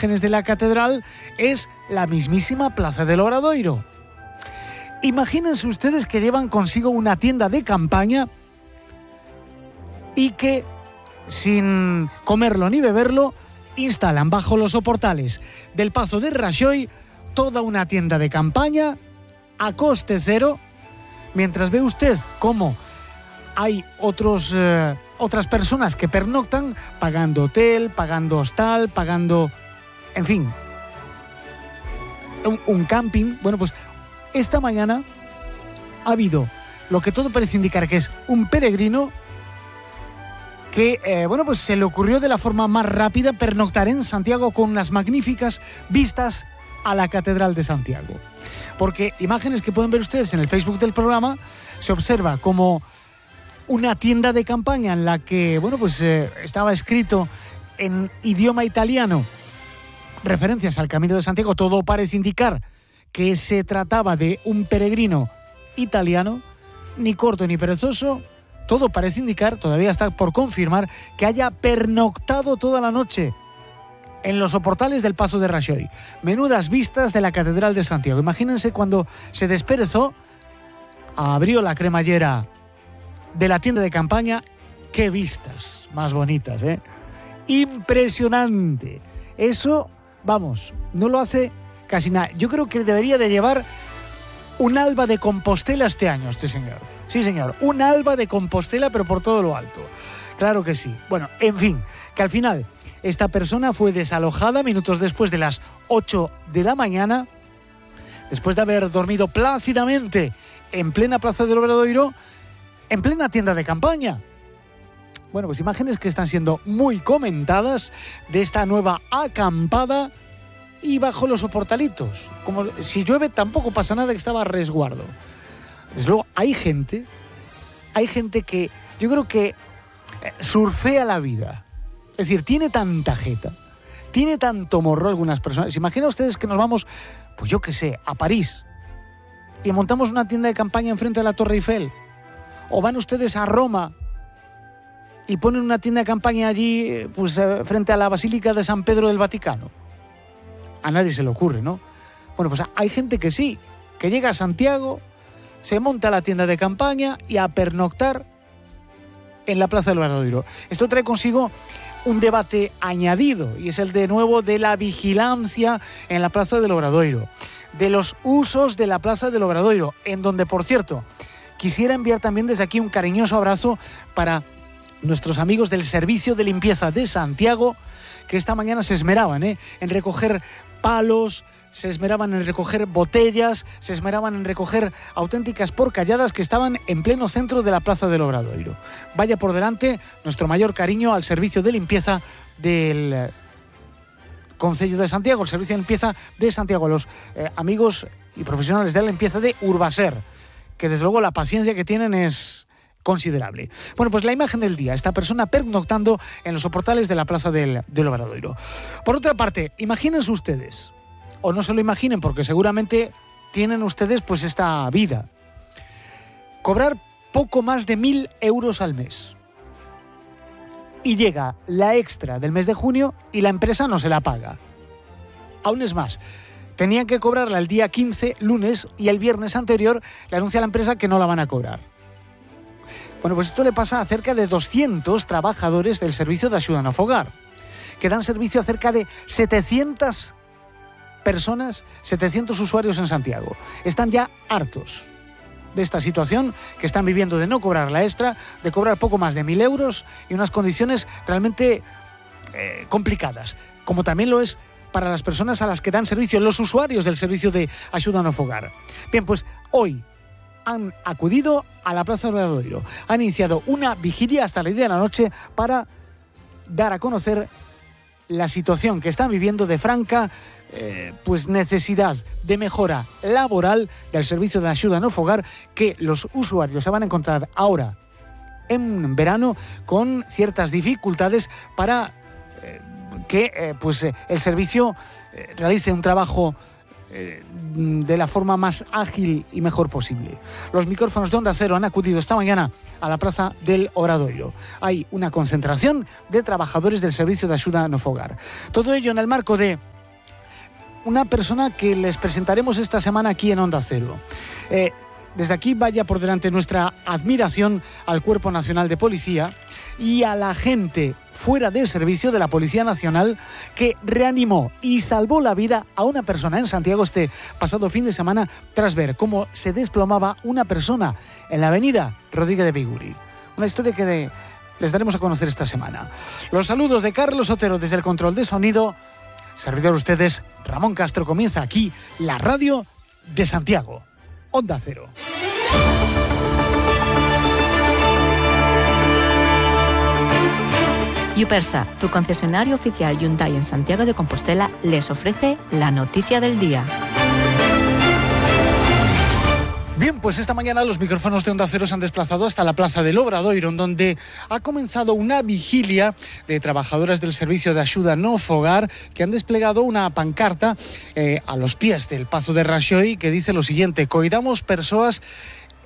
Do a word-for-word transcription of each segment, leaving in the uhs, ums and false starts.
imágenes de la catedral es la mismísima Plaza del Obradoiro. Imagínense ustedes que llevan consigo una tienda de campaña y que, sin comerlo ni beberlo, instalan bajo los soportales del Pazo de Rajoy toda una tienda de campaña a coste cero, mientras ve usted cómo hay otros, eh, otras personas que pernoctan pagando hotel, pagando hostal, pagando, en fin, un, un camping. Bueno, pues esta mañana ha habido lo que todo parece indicar que es un peregrino que, eh, bueno, pues se le ocurrió de la forma más rápida pernoctar en Santiago con unas magníficas vistas a la Catedral de Santiago. Porque imágenes que pueden ver ustedes en el Facebook del programa, se observa como una tienda de campaña en la que, bueno, pues eh, estaba escrito en idioma italiano referencias al Camino de Santiago. Todo parece indicar que se trataba de un peregrino italiano, ni corto ni perezoso. Todo parece indicar, todavía está por confirmar, que haya pernoctado toda la noche en los soportales del Pazo de Rajoy. Menudas vistas de la Catedral de Santiago. Imagínense cuando se desperezó, abrió la cremallera de la tienda de campaña. ¡Qué vistas más bonitas, eh! Impresionante. Eso, vamos, no lo hace casi nada. Yo creo que debería de llevar un alba de Compostela este año, este señor. Sí, señor, un alba de Compostela, pero por todo lo alto. Claro que sí. Bueno, en fin, que al final esta persona fue desalojada minutos después de las ocho de la mañana, después de haber dormido plácidamente en plena Plaza del Obradoiro, en plena tienda de campaña. Bueno, pues imágenes que están siendo muy comentadas de esta nueva acampada y bajo los soportalitos. Como si llueve tampoco pasa nada, que estaba a resguardo. Desde luego, hay gente, hay gente que yo creo que surfea la vida. Es decir, tiene tanta jeta, tiene tanto morro algunas personas. Imagina ustedes que nos vamos, pues yo qué sé, a París y montamos una tienda de campaña enfrente de la Torre Eiffel. O van ustedes a Roma y ponen una tienda de campaña allí, pues frente a la Basílica de San Pedro del Vaticano. A nadie se le ocurre, ¿no? Bueno, pues hay gente que sí, que llega a Santiago, se monta la tienda de campaña y a pernoctar en la Plaza del Obradoiro. Esto trae consigo un debate añadido, y es el de nuevo de la vigilancia en la Plaza del Obradoiro, de los usos de la Plaza del Obradoiro, en donde, por cierto, quisiera enviar también desde aquí un cariñoso abrazo para nuestros amigos del Servicio de Limpieza de Santiago, que esta mañana se esmeraban ¿eh? en recoger palos, se esmeraban en recoger botellas, se esmeraban en recoger auténticas porcalladas que estaban en pleno centro de la Plaza del Obradoiro. Vaya por delante nuestro mayor cariño al Servicio de Limpieza del Concello de Santiago, el Servicio de Limpieza de Santiago, los eh, amigos y profesionales de la limpieza de Urbaser, que desde luego la paciencia que tienen es considerable. Bueno, pues la imagen del día, esta persona pernoctando en los soportales de la Plaza del, del Obradoiro. Por otra parte, imagínense ustedes, o no se lo imaginen porque seguramente tienen ustedes pues esta vida, cobrar poco más de mil euros al mes. Y llega la extra del mes de junio y la empresa no se la paga. Aún es más, tenían que cobrarla el día quince, lunes, y el viernes anterior le anuncia a la empresa que no la van a cobrar. Bueno, pues esto le pasa a cerca de doscientos trabajadores del servicio de ayuda no fogar, que dan servicio a cerca de setecientas personas, setecientos usuarios en Santiago. Están ya hartos de esta situación que están viviendo, de no cobrar la extra, de cobrar poco más de mil euros y unas condiciones realmente eh, complicadas, como también lo es para las personas a las que dan servicio, los usuarios del servicio de ayuda no fogar. Bien, pues hoy han acudido a la Plaza del Obradoiro, han iniciado una vigilia hasta las diez de la noche para dar a conocer la situación que están viviendo de franca eh, pues necesidad de mejora laboral del servicio de ayuda no fogar, que los usuarios se van a encontrar ahora en verano con ciertas dificultades para eh, que eh, pues eh, el servicio eh, realice un trabajo de la forma más ágil y mejor posible. Los micrófonos de Onda Cero han acudido esta mañana a la Plaza del Obradoiro. Hay una concentración de trabajadores del servicio de ayuda no fogar. Todo ello en el marco de una persona que les presentaremos esta semana aquí en Onda Cero. Eh, desde aquí vaya por delante nuestra admiración al Cuerpo Nacional de Policía y a la gente fuera de servicio de la Policía Nacional que reanimó y salvó la vida a una persona en Santiago este pasado fin de semana tras ver cómo se desplomaba una persona en la avenida Rodríguez de Biguri. Una historia que de, les daremos a conocer esta semana. Los saludos de Carlos Otero desde el control de sonido. Servidor de ustedes, Ramón Castro. Comienza aquí la radio de Santiago. Onda Cero. Yupersa, tu concesionario oficial Hyundai en Santiago de Compostela, les ofrece la noticia del día. Bien, pues esta mañana los micrófonos de Onda Cero se han desplazado hasta la Plaza del Obradoiro, donde ha comenzado una vigilia de trabajadoras del Servicio de Axuda no Fogar que han desplegado una pancarta eh, a los pies del Pazo de Raxoi que dice lo siguiente: coidamos persoas,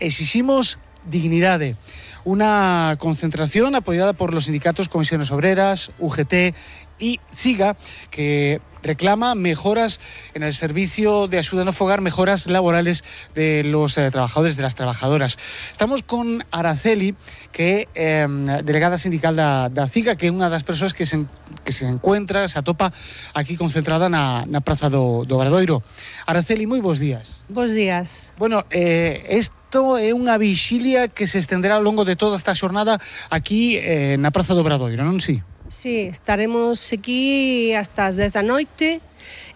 exiximos dignidade. Una concentración apoyada por los sindicatos Comisiones Obreras, U G T y SIGA, que reclama mejoras en el servicio de ayuda no fogar, mejoras laborales de los eh, trabajadores, de las trabajadoras. Estamos con Araceli, que é eh, delegada sindical da, da SIGA, que é unha das persoas que se, que se encuentra, se atopa aquí concentrada na, na Praza do, do Obradoiro. Araceli, moi bons días. Bos días. Bueno, eh, isto é unha vixilia que se estenderá ao longo de toda esta xornada aquí eh, na Praza do Obradoiro, non si? Sí, estaremos aquí hasta as dez da noite.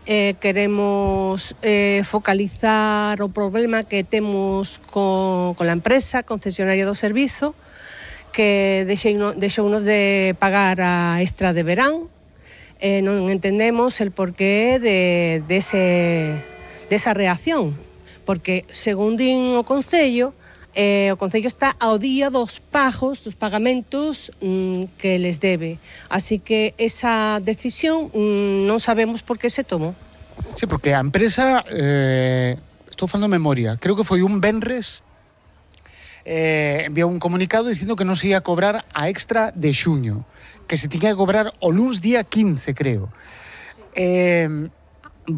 Eh, queremos eh, focalizar o problema que temos con, con a empresa concesionaria do servizo, que deixounos de pagar a extra de verán. Eh, non entendemos el porqué de, de, ese, de esa reacción, porque, según din o Concello, Eh, o Concello está ao día dos pagos, dos pagamentos mm, que les debe. Así que esa decisión mm, non sabemos por que se tomou. Sí, porque a empresa, eh, estou falando de memoria, creo que foi un venres, eh, enviou un comunicado dicindo que non se ia cobrar a extra de xuño, que se tiña que cobrar o luns día quince, creo. Eh,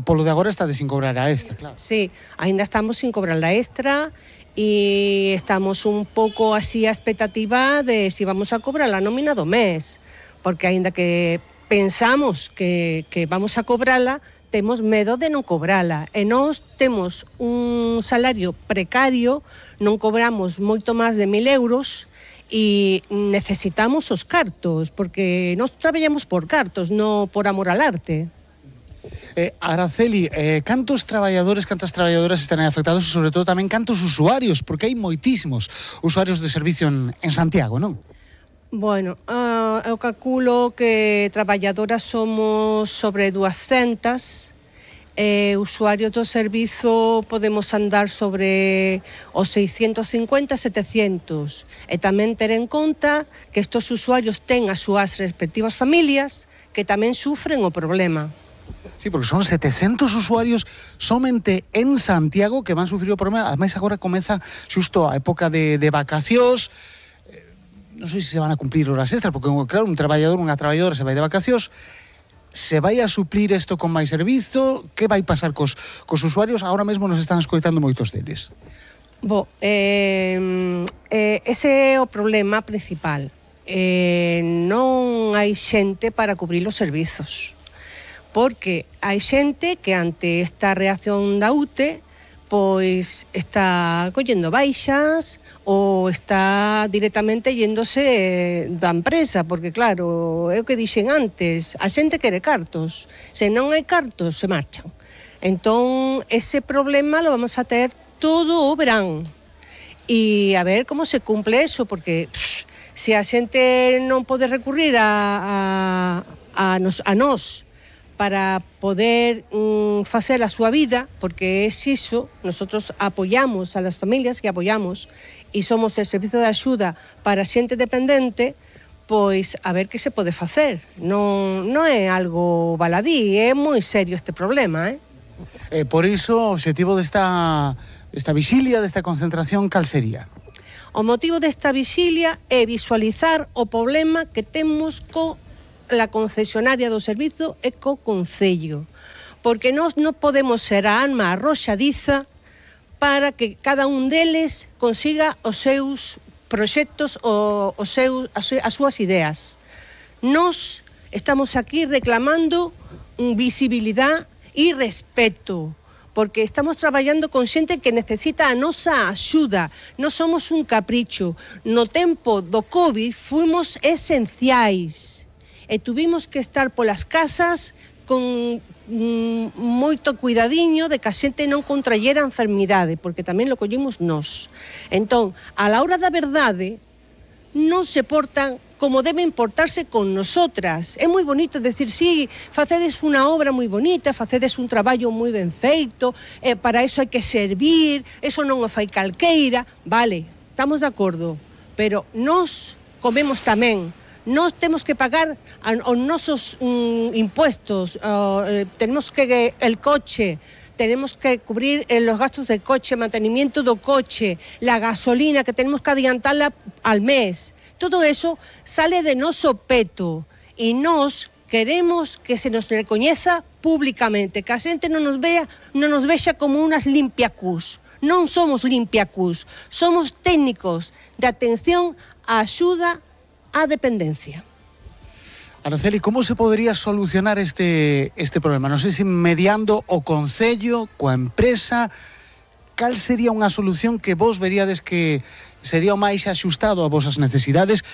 polo de agora está de sin cobrar a extra, claro. Sí, ainda estamos sin cobrar a extra, e estamos un pouco así a expectativa de si vamos a cobrar a nómina do mes, porque aínda que pensamos que, que vamos a cobrala, temos medo de non cobrala, e nós temos un salario precario, non cobramos moito máis de mil euros e necesitamos os cartos, porque nós traballamos por cartos, non por amor al arte. Eh, Araceli, eh, cantos traballadores, cantas traballadoras están afectados e sobre todo tamén cantos usuarios, porque hai moitísimos usuarios de servicio en, en Santiago, non? Bueno, uh, eu calculo que traballadoras somos sobre duascentas, eh, usuarios do servizo podemos andar sobre os seiscentos cincuenta, setecientos, e tamén ter en conta que estes usuarios ten as súas respectivas familias que tamén sufren o problema. Sí, porque son setecientos usuarios somente en Santiago que van a sufrir o problema. Ademais, agora comeza xusto a época de, de vacacións. Eh, non sei se se van a cumplir horas extras, porque, claro, un traballador, unha traballadora se vai de vacacións, se vai a suplir isto con máis servizo. Que vai pasar cos, cos usuarios? Agora mesmo nos están escoitando moitos deles. Bo, eh, eh, ese é o problema principal. Eh, non hai xente para cubrir os servizos. Porque hai xente que ante esta reacción da U T E pois está collendo baixas ou está directamente yéndose da empresa, porque claro, é o que dixen antes, a xente quere cartos, se non hai cartos se marchan. Entón, ese problema lo vamos a ter todo o verán e a ver como se cumple eso, porque pff, se a xente non pode recurrir a, a, a, nos, a nós para poder mm, facer a súa vida, porque é iso, nosotros apoyamos a las familias que apoyamos e somos el servizo de axuda para xente dependente, pois a ver que se pode facer. Non, non é algo baladí, é moi serio este problema, eh? Eh, por iso, o objetivo desta, desta vixilia, desta concentración, cal sería? O motivo desta vixilia é visualizar o problema que temos co la concesionaria do servizo e co Concello, porque nós non podemos ser a arma arroxadiza para que cada un deles consiga os seus proxectos, o, os seus, as, as súas ideas. Nós estamos aquí reclamando visibilidade e respeto, porque estamos traballando con xente que necesita a nosa axuda. Non somos un capricho. No tempo do COVID fuimos esenciais e tuvimos que estar polas casas con mm, moito cuidadiño de que a xente non contrallera a enfermidade, porque tamén lo collimos nós. Entón, a la hora da verdade, non se portan como deben portarse con nosotras. É moi bonito decir, sí, facedes unha obra moi bonita, facedes un traballo moi ben feito, eh, para eso hai que servir, eso non o fai calqueira. Vale, estamos de acordo, pero nós comemos tamén. Nós temos que pagar os nosos um, impuestos, uh, eh, tenemos que el coche, tenemos que cubrir eh, los gastos del coche, mantenimiento do coche, la gasolina que tenemos que adiantarla al mes. Todo eso sale de noso peto e nós queremos que se nos recoñeza públicamente, que a xente non nos vea, non nos vexa como unas limpiacús. Non somos limpiacús, somos técnicos de atención á axuda á dependencia. Araceli, como se podría solucionar este, este problema? Non sei se mediando o Concello, coa empresa, cal sería unha solución que vos veríades que sería o máis axustado a vosas necesidades,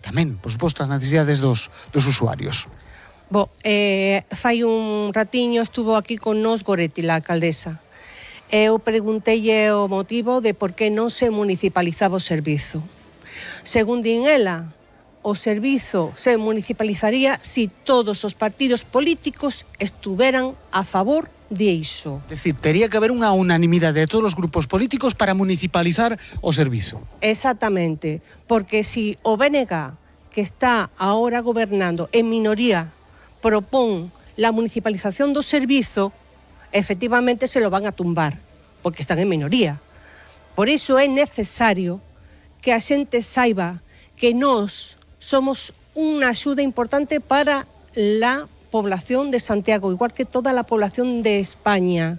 tamén, por suposto, as necesidades dos, dos usuarios? Bo, eh, fai un ratiño estuvo aquí con nos Goretti, la alcaldesa. Eu preguntei o motivo de por que non se municipalizaba o servizo. Según din ela, o servizo se municipalizaría si todos os partidos políticos estuveran a favor de iso. É dicir, tería que haber unha unanimidade de todos os grupos políticos para municipalizar o servizo. Exactamente, porque si o B N G, que está ahora gobernando en minoría, propón la municipalización do servizo, efectivamente se lo van a tumbar, porque están en minoría. Por iso é necesario que a xente saiba que nós somos unha axuda importante para la población de Santiago, igual que toda la población de España,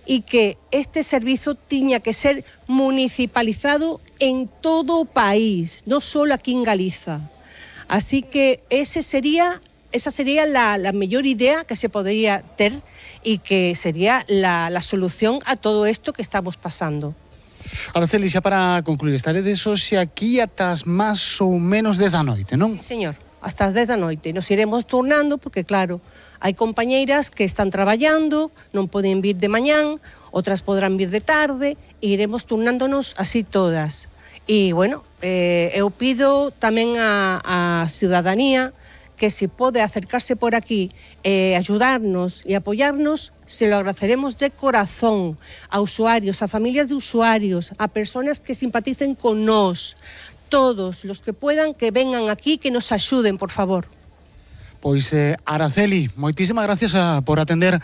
y que este servizo tiña que ser municipalizado en todo o país, non só aquí en Galiza. Así que ese sería, esa sería la, la mellor idea que se podría ter e que sería la, la solución a todo isto que estamos pasando. Araceli, xa para concluir, estaredes hoxe aquí atas máis ou menos dez da noite, non? Sí, señor. Hasta as dez da noite. Nos iremos turnando porque, claro, hai compañeiras que están traballando, non poden vir de mañán, outras podrán vir de tarde, e iremos turnándonos así todas. E, bueno, eh, eu pido tamén a, a ciudadanía que se pode acercarse por aquí e eh, ayudarnos e apoyarnos, se lo agradeceremos de corazón a usuarios, a familias de usuarios, a personas que simpaticen con nós. Todos los que puedan, que vengan aquí, que nos axuden, por favor. Pois, eh, Araceli, moitísimas gracias a, por atender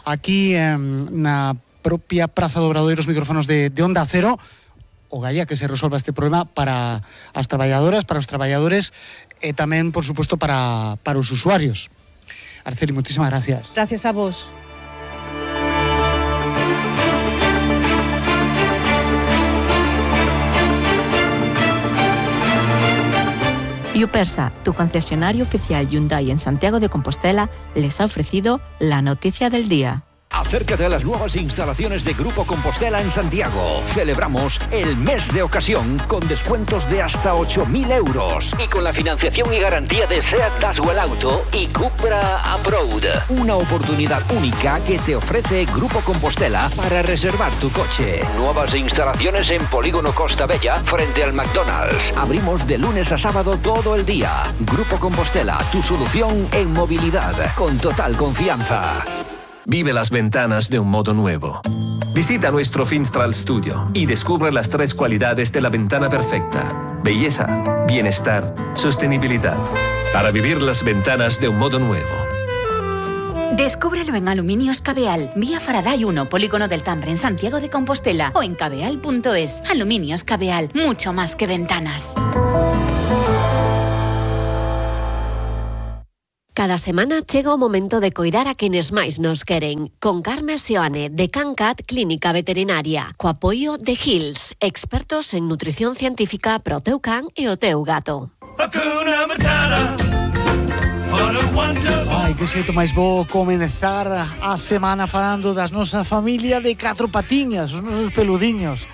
aquí eh, na propia Praza do Obradoiro os micrófonos de, de Onda Cero. Ogalla que se resolva este problema para as traballadoras, para os traballadores e tamén, por suposto, para, para os usuarios. Araceli, moitísimas gracias. Gracias a vos. Yupersa, tu concesionario oficial Hyundai en Santiago de Compostela, les ha ofrecido la noticia del día. Acércate a las nuevas instalaciones de Grupo Compostela en Santiago. Celebramos el mes de ocasión con descuentos de hasta ocho mil euros. Y con la financiación y garantía de SEAT Daswell Auto y Cupra Approved. Una oportunidad única que te ofrece Grupo Compostela para reservar tu coche. Nuevas instalaciones en Polígono Costa Bella frente al McDonald's. Abrimos de lunes a sábado todo el día. Grupo Compostela, tu solución en movilidad. Con total confianza. Vive las ventanas de un modo nuevo. Visita nuestro Finstral Studio y descubre las tres cualidades de la ventana perfecta: belleza, bienestar, sostenibilidad. Para vivir las ventanas de un modo nuevo. Descúbrelo en Aluminios Cabeal, vía Faraday uno, Polígono del Tambre, en Santiago de Compostela, o en cabeal punto es. Aluminios Cabeal, mucho más que ventanas. Cada semana chega o momento de coidar a quenes máis nos queren. Con Carme Seoane, de CanCat Clínica Veterinaria. Co apoio de Hills, expertos en nutrición científica para o teu can e o teu gato. Ai, que xeito máis bo comenzar a semana falando das nosa familia de catro patiñas, os nosos peludiños.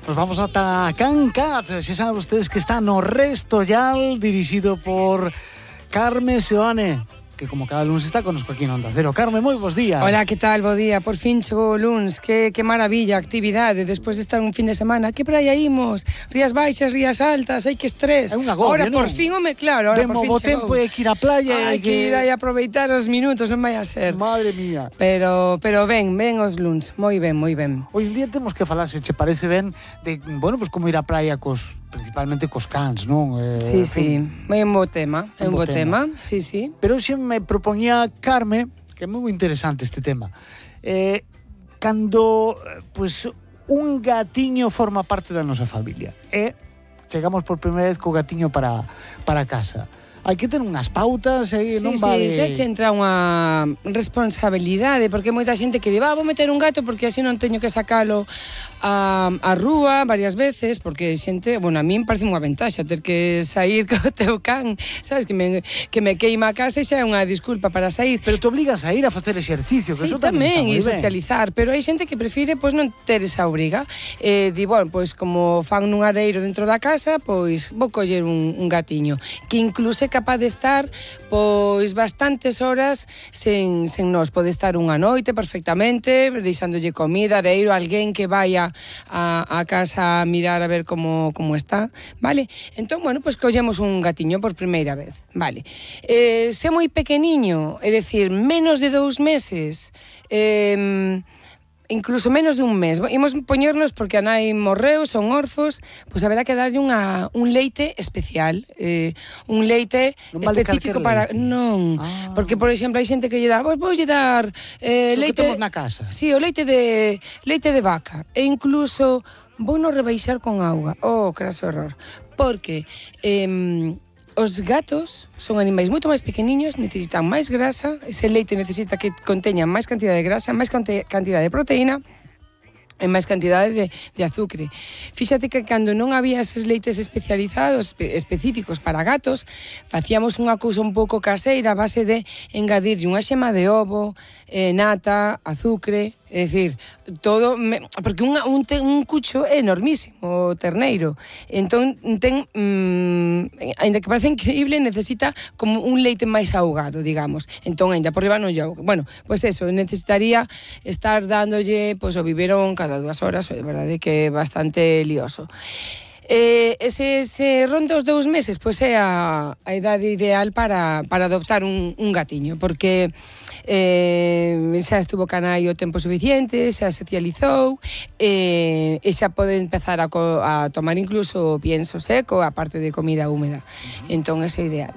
Nos vamos ata CanCat, se saben ustedes que está no Restollal, dirixido por Carme Seoane, que como cada lunes está connosco aquí en Onda Cero. Carme, moi bons días. Hola, que tal? Bo día. Por fin chegou o luns. Que, que maravilla, actividade. Despois de estar un fin de semana. Que praia imos? Rías baixas, rías altas. Ai, que estrés. É un agobio, Ahora, non? por fin, home, claro. Ahora, Demo por fin bo chegou. tempo e que ir á playa. Hai que ir aí a aproveitar os minutos, non vai a ser. Madre mía. Pero, pero ben, ben os luns. Moi ben, moi ben. Hoy en día temos que falar, se che parece ben, de, bueno, pues como ir á praia cos, principalmente cos cans, non? Eh, Sí, en sí. fin. É un bo tema. É Un un bo bo tema. Sí, sí. Pero hoxe me propoñía Carme, que é moi interesante este tema, eh, cando pues, un gatiño forma parte da nosa familia e chegamos por primeira vez co gatiño para, para casa. Hai que ter unhas pautas e Sí, non sí, vale... xa che entra unha responsabilidade, porque moita xente que di, va, vou meter un gato porque así non teño que sacalo a, a rúa varias veces, porque xente, bueno, a min parece unha ventaxa ter que sair co teu can, sabes, que me, que me queima a casa e xa é unha disculpa para sair. Pero te obligas a ir a facer exercicio, que Sí, eso tamén, tamén, e está moi ben. socializar, pero hai xente que prefire pois non ter esa obriga. Eh, di, bueno, pois como fan nun areiro dentro da casa, pois vou coller un, un gatiño, que incluso é capaz de estar pois bastantes horas sen, sen nós. Pode estar unha noite perfectamente, deixándolle comida, areiro, alguén que vaya a, a casa a mirar a ver como, como está, vale? Entón, bueno, pois collemos un gatiño por primeira vez, vale? Eh, se moi pequeniño, é dicir, menos de dous meses, eh, incluso menos de un mes. Imos poñernos porque a nai morreu, son orfos, pois haberá que darlle unha, un leite especial, eh, un leite non vale específico para... leite. Non, ah. porque, por exemplo, hai xente que lle dá, pois voulle dar eh, Lo leite... que temos na casa. Sí, o leite de, leite de vaca. E incluso vou no rebaixar con auga. Oh, craso error. Porque... Eh, os gatos son animais moito máis pequeniños, necesitan máis grasa, ese leite necesita que conteña máis cantidad de grasa, máis cantidad de proteína e máis cantidade de, de azúcar. Fíxate que cando non había eses leites especializados, espe, específicos para gatos, facíamos unha cousa un pouco caseira a base de engadirlle unha xema de ovo, eh, nata, azúcar, é dicir, todo, me, porque un, un, te, un cucho é enormísimo, o terneiro. Entón, ten, mmm, ainda que parece increíble, necesita como un leite máis ahogado, digamos. Entón, ainda por riba non lle ahoga. Bueno, pois pues eso, necesitaría estar dándolle, pois, pues, o biberón cada dúas horas, é verdade que é bastante lioso. Eh, ese, se ronda os dous meses, pois é a, a idade ideal para, para adoptar un, un gatiño, porque eh, xa estuvo canai o tempo suficiente, xa socializou, eh, e xa pode empezar a, co, a tomar incluso pienso seco, aparte de comida húmeda. Entón, eso é ideal.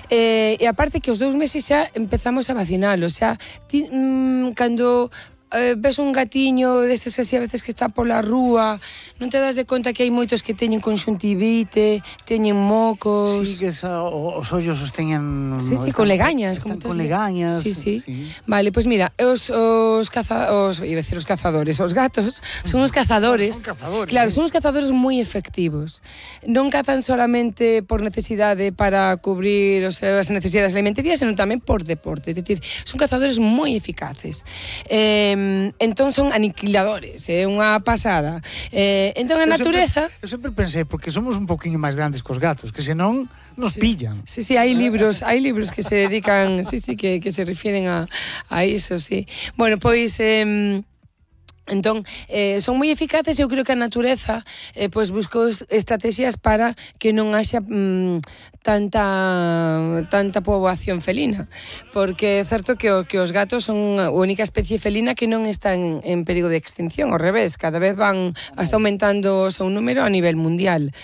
Eh, e aparte que os dous meses xa empezamos a vacinalo, xa ti, mm, cando... Eh, ves un gatiño destes así a veces que está pola rúa, non te das de conta que hai moitos que teñen conxuntivite, teñen mocos. Sí, que esa, os ollos os teñen... Sí, sí, están, con legañas. Están como con legañas. Sí, sí, sí. Vale, pois pues mira, os, os, caza, os, iba a decir os cazadores, os gatos son os cazadores. Son cazadores. Claro, ¿eh? son os cazadores moi efectivos. Non cazan solamente por necesidade para cubrir os, as necesidades alimentarias, senón tamén por deporte. É dicir, son cazadores moi eficaces. Eh, entón son aniquiladores, é unha pasada. Eh, entón a Eu natureza... Sempre, eu sempre pensei, porque somos un poquinho máis grandes cos gatos, que senón nos sí. pillan. Sí, sí, hai libros, hai libros que se dedican, sí, sí, que, que se refiren a, a iso, sí. Bueno, pois... Eh, Entón, eh, son moi eficaces e eu creo que a natureza eh, pois buscou estrategias para que non haxa mm, tanta tanta poboación felina, porque é certo que, o, que os gatos son a única especie felina que non está en, en perigo de extinción, ao revés, cada vez van hasta aumentando o seu número a nivel mundial.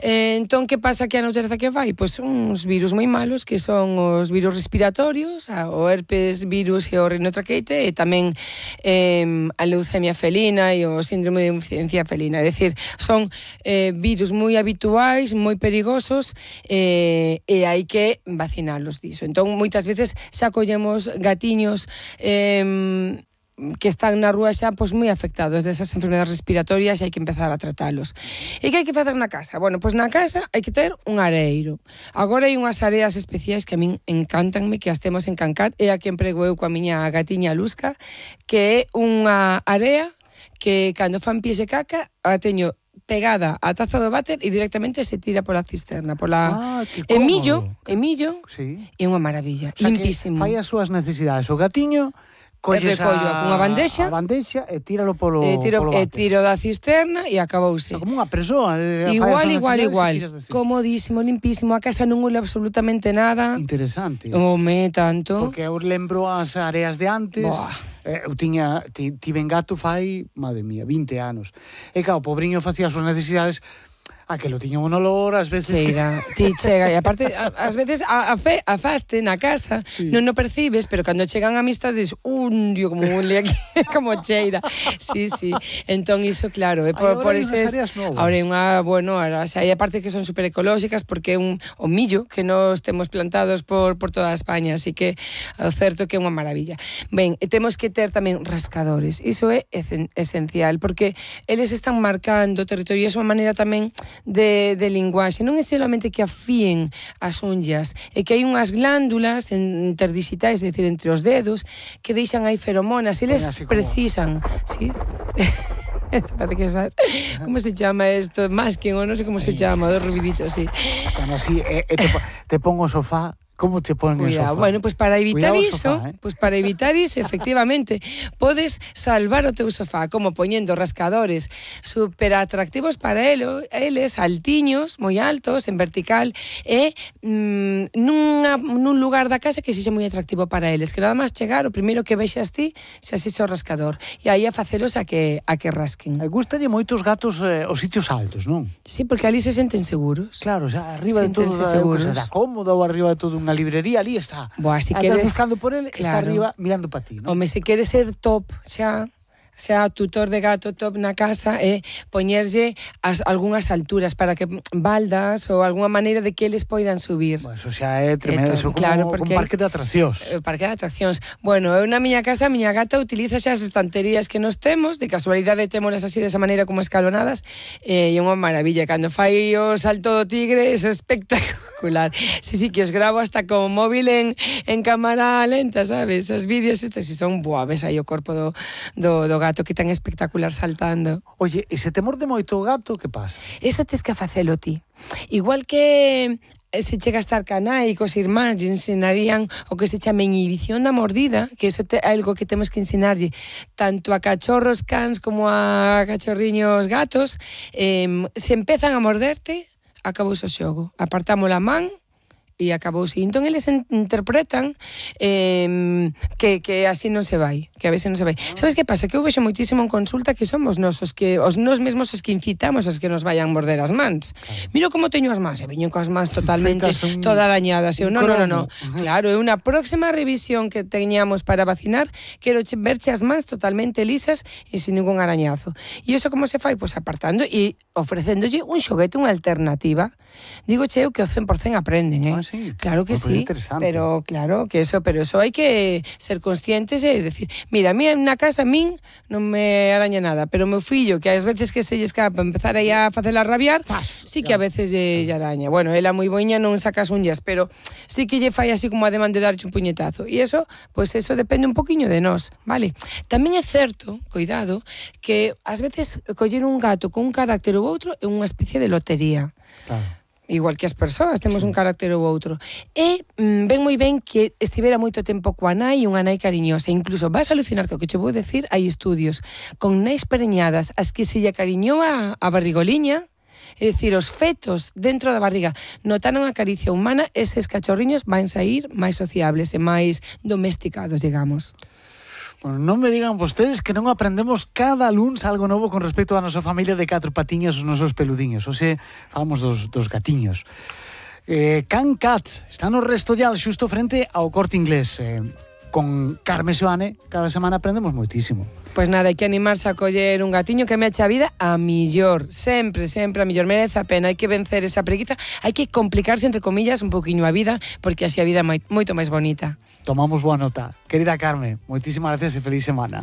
Eh, entón, que pasa que a natureza que vai? Pois son uns virus moi malos, que son os virus respiratorios, o herpes virus e o rinotraqueite, e tamén eh, a leucemia anemia felina e o síndrome de inmunodeficiencia felina. É dicir, son eh, virus moi habituais, moi perigosos, eh, e hai que vacinalos diso. Entón, moitas veces xa collemos gatiños eh, que están na rúa xa pois moi afectados desas enfermedades respiratorias e hai que empezar a tratalos. E que hai que facer na casa? Bueno, pois na casa hai que ter un areiro. Agora hai unhas areas especiais que a min encantanme, que as temos en Cancat, e a que emprego eu coa miña gatiña Luzca, que é unha area que cando fan pies e caca a teño pegada á taza do váter e directamente se tira pola cisterna, pola ah, que e millo, e millo, sí. É unha maravilla, o sea, limpísimo. Fai as súas necesidades, o gatiño colles recollo a, cunha bandexa, a bandexa e tíralo polo, e tiro, polo e váter. tiro da cisterna e acabouse. O sea, como unha persoa. Eh, igual, igual, igual. Comodísimo, limpísimo, a casa non huele absolutamente nada. Interesante. Home, tanto. Porque eu lembro as areas de antes. Boa. Eh, eu tiña, tiven gato fai, madre mía, vinte anos. E claro, o pobriño facía as súas necesidades. Aquelo tiña un olor, ás veces... Cheira, que... ti chega, e aparte, a, ás veces a, a, fe, a faste na casa, sí. Non o percibes, pero cando chegan amistades, un dio como huele aquí, como cheira. Sí, sí. Entón, iso, claro, é por, por eses... Ahora hai unha, bueno, ahora, xa, hai aparte que son super ecolóxicas, porque é un o millo que nos temos plantados por, por toda España, así que o certo que é unha maravilla. Ben, e temos que ter tamén rascadores, iso é esencial, porque eles están marcando o territorio, e é unha maneira tamén de, de linguaxe, non é solamente que afíen as unllas, é que hai unhas glándulas interdigitais, é dicir, entre os dedos, que deixan aí feromonas, eles como... precisan, sí? Esto parece que sabes. ¿Cómo se llama esto? Masking, o non sei como se chama, dos rubiditos, sí. Bueno, así, eh, eh, te, te pongo sofá. ¿Cómo te ponen el sofá? Bueno, pues para evitar Cuidado iso, sofá, eh? pues para evitar iso, efectivamente, podes salvar o teu sofá como poñendo rascadores super atractivos para elo, eles, altiños, moi altos, en vertical, e mm, nunha, nun lugar da casa que sexa moi atractivo para eles, que nada máis chegar, o primeiro que vexas ti, xa sexa o rascador, e aí a facelos a que, a que rasquen. Me gustalle moitos gatos eh, os sitios altos, non? Sí, porque ali se senten seguros. Claro, o sea, arriba de todo, seguros. Era cómodo, ou arriba de todo unha librería, ali está. Boa, si Estás queres buscando por ele, claro. Está arriba mirando para ti, ¿no? Home, se queres ser top, xa xa tutor de gato top na casa e poñerlle as algunhas alturas para que baldas ou algunha maneira de que eles poidan subir. Bueno, eso xa é tremendo, eso como claro, un parque de atraccións. Eh, parque de atraccións. Bueno, eu na miña casa, a miña gata utiliza xa as estanterías que nos temos, de casualidade témolas así desa maneira como escalonadas, e é unha maravilla. Cando fai o salto do tigre, é espectacular. Sí, sí, que os gravo hasta con móvil en, en cámara lenta, sabes? Os vídeos estes, si son, buah, ves aí o corpo do, do, do gato que tan espectacular saltando. Oye, e se te morde moito o gato, que pasa? Eso tes que facelo ti. Igual que se chega a estar canai cos irmáns lle ensinarían o que se chama inhibición da mordida, que eso é algo que temos que ensinarlle tanto a cachorros cans como a cachorriños gatos. Eh, se empezan a morderte, acabouse o xogo. Apartamos a man e acabouse. Entón, eles interpretan eh, que, que así non se vai, que a veces non se vai. Sabes que pasa? Que eu vexo moitísimo en consulta que somos nos os que, os nos mesmos os que incitamos os que nos vayan morder as mans. Claro. Miro como teño as mans, e veño coas mans totalmente un, toda arañadas. Eu, non, non, non, non. Claro, é unha próxima revisión que teñamos para vacinar, quero verche as mans totalmente lisas e sin ningún arañazo. E iso como se fai? Pois apartando e ofrecéndolle un xoguete, unha alternativa. Digo che eu que o cen por cen aprenden, eh? Sí. Claro que sí, pero claro que eso, pero eso hai que ser conscientes e decir, mira, a mí na casa a min non me araña nada, pero o meu fillo, que ás veces que se lle escapa empezar aí a facela rabiar, Fas, sí que a veces lle, lle araña. Bueno, ela moi boiña non saca as unhas, pero sí que lle fai así como ademán de darche un puñetazo. E eso, pois pues eso depende un poquinho de nós, vale? Tamén é certo, cuidado, que ás veces coller un gato con un carácter ou outro é unha especie de lotería. Claro. Igual que as persoas, temos sí. un carácter ou outro. E mm, ven moi ben que estivera moito tempo coa nai e unha nai cariñosa. Incluso vas a alucinar que o que che vou decir, hai estudios con nais preñadas as que se lle acariñou a, a barrigoliña, é dicir, os fetos dentro da barriga notaron a caricia humana, eses cachorriños van sair máis sociables e máis domesticados, digamos. Bueno, non me digan vostedes que non aprendemos cada luns algo novo con respecto á nosa familia de catro patiñas, os nosos peludiños. O sea, falamos dos, dos gatiños. Eh, Cancat está no Restollal, xusto frente ao Corte Inglés. Eh, con Carme Seoane cada semana aprendemos moitísimo. Pois nada, hai que animarse a coller un gatiño que me eche a vida a millor. Sempre, sempre a millor. Merece a pena. Hai que vencer esa preguiza. Hai que complicarse, entre comillas, un poquinho a vida, porque así a vida é moito máis bonita. Tomamos boa nota. Querida Carme, moitísimas gracias e feliz semana.